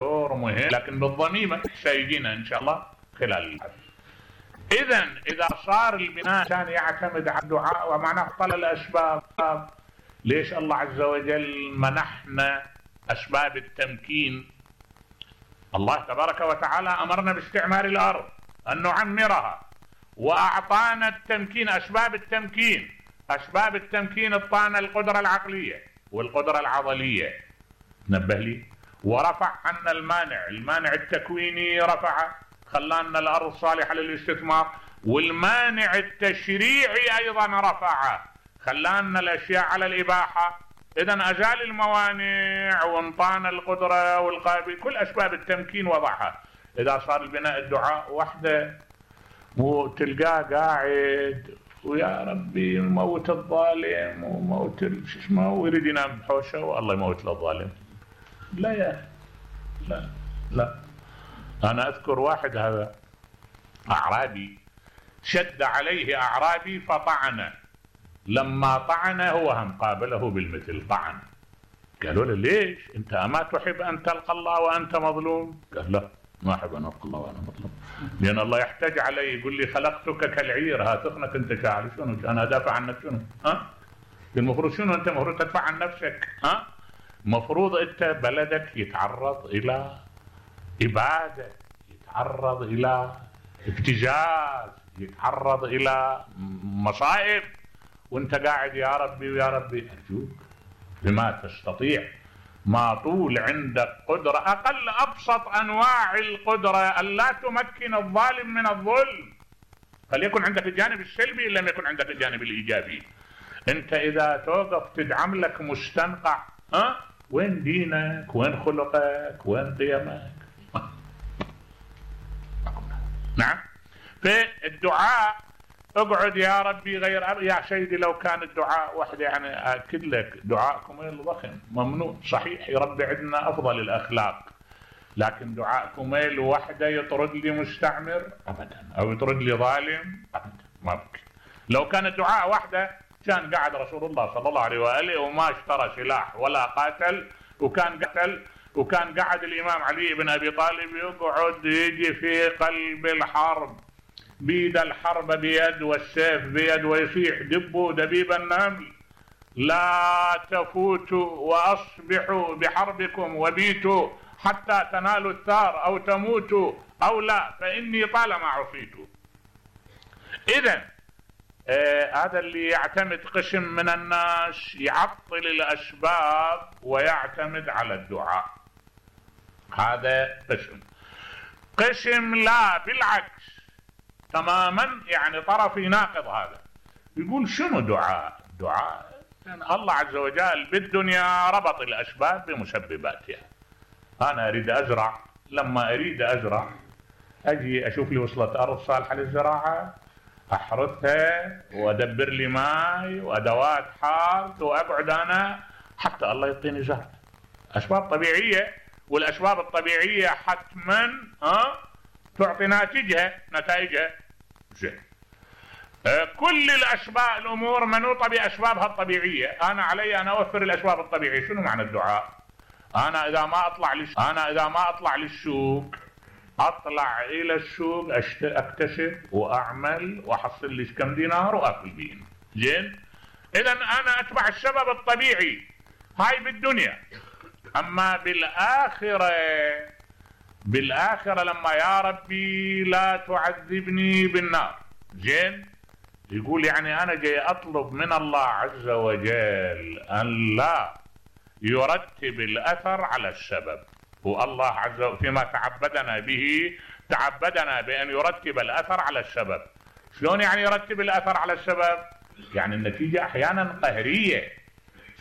دور مهم، لكن بالضميمة سيجينا إن شاء الله خلال الحديث. إذا صار البناء كان يعتمد على الدعاء ومعناه طل الأسباب. ليش الله عز وجل منحنا أسباب التمكين؟ الله تبارك وتعالى أمرنا باستعمار الأرض أن نعمرها، وأعطانا التمكين، أسباب التمكين. أسباب التمكين أعطانا القدرة العقلية والقدرة العضلية، نبه لي، ورفع عنا المانع التكويني رفعه، خلانا الأرض صالحة للاستثمار، والمانع التشريعي أيضا رفعه، خلانا الأشياء على الإباحة. إذن أزال الموانع وانطانا القدرة والقابل، كل أسباب التمكين وضعها. إذا صار البناء الدعاء وحده، وتلقاه قاعد ويا ربي موت الظالم وموت شو اسمه، ويريد ينام بحوشه والله يموت الظالم. لا يا لا. أنا أذكر واحد هذا أعرابي شد عليه أعرابي فطعنه، لما طعنه هو هم قابله بالمثل طعن. قالوا له ليش أنت أما تحب أن تلقى الله وأنت مظلوم؟ قال لا، ما أحب أن ألقى الله وأنا مظلوم، لأن الله يحتاج علي، يقول لي خلقتك كالعير، ها تخنك أنت شاعر، شنو أنا أدافع عنك؟ شنو المفروض شنو أنت مفروض تدفع عن نفسك؟ مفروض أنت بلدك يتعرض إلى إبادة، يتعرض إلى ابتزاز، يتعرض إلى مصائب، وانت قاعد يا ربي ويا ربي. أرجوك بما تستطيع، ما طول عندك قدرة، أقل أبسط أنواع القدرة ألا تمكن الظالم من الظلم، فليكن عندك الجانب السلبي إن لم يكن عندك الجانب الإيجابي. انت إذا توقف تدعم لك مستنقع، وين دينك؟ وين خلقك؟ وين قيمك؟ نعم. في الدعاء اقعد يا ربي غير يا سيدي، لو كان الدعاء وحده، يعني اكد لك دعاءكم ضخم ممنوع صحيح، يربي عندنا افضل الاخلاق، لكن دعاءكم وحده يطرد لي مستعمر ابدا، او يطرد لي ظالم ابدا، ما ممكن. لو كان الدعاء وحده كان قاعد رسول الله صلى الله عليه واله وما اشترى سلاح ولا قاتل، وكان قاعد الامام علي بن ابي طالب يقعد يجي في قلب الحرب، بيد الحرب بيد والسيف بيد، ويصيح دبوا دبيب النمل، لا تفوتوا واصبحوا بحربكم وبيتوا حتى تنالوا الثار او تموتوا او لا، فاني طالما عصيت. اذا هذا اللي يعتمد قسم من الناس يعطل الأسباب ويعتمد على الدعاء، هذا قسم لا بالعكس تماما، يعني طرف يناقض هذا، يقول شنو دعاء؟ يعني الله عز وجل بالدنيا ربط الأسباب بمسبباتها. أنا أريد أزرع، لما أريد أزرع أجي أشوف لي وصلة أرض صالحة للزراعة، أحرثها وأدبر لي ماء وأدوات حارث، وأقعد أنا حتى الله يعطيني زرع. أسباب طبيعية، والأسباب الطبيعية حتما تعطي نتائجها زين. كل الأسباب الأمور منوطة بأسبابها الطبيعية، أنا علي أن أوفر الأسباب الطبيعية. شنو معنى الدعاء؟ أنا إذا ما أطلع للسوق، أطلع إلى السوق أكتسب وأعمل وأحصل لي كم دينار وأكل بين زين. إذا أنا أتبع السبب الطبيعي، هاي بالدنيا. أما بالآخرة لما يا ربي لا تعذبني بالنار زين، يقول يعني أنا جاي أطلب من الله عز وجل أن لا يرتب الأثر على السبب، والله عز وجل فيما تعبدنا بأن يرتب الأثر على السبب. شلون يعني يرتب الأثر على السبب؟ يعني النتيجة أحيانا قهرية.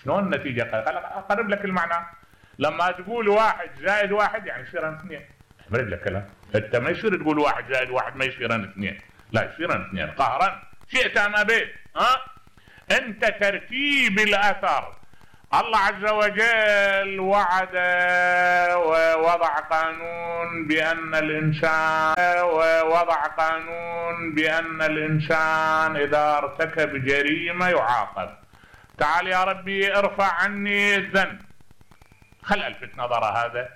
شلون النتيجة قهرية؟ أقرب لك المعنى. لما تقول 1 زائد 1 يعني يصيرن 2. أقرب لك كلام. أنت ما يصير تقول 1 زائد 1 ما يصيرن 2، لا يصيرن 2 قهرا شئت أم أبيت. أنت ترتيب الأثر. الله عز وجل وعد ووضع قانون بأن الإنسان إذا ارتكب جريمة يعاقب. تعال يا ربي ارفع عني الذنب، خل ألفت نظر هذا،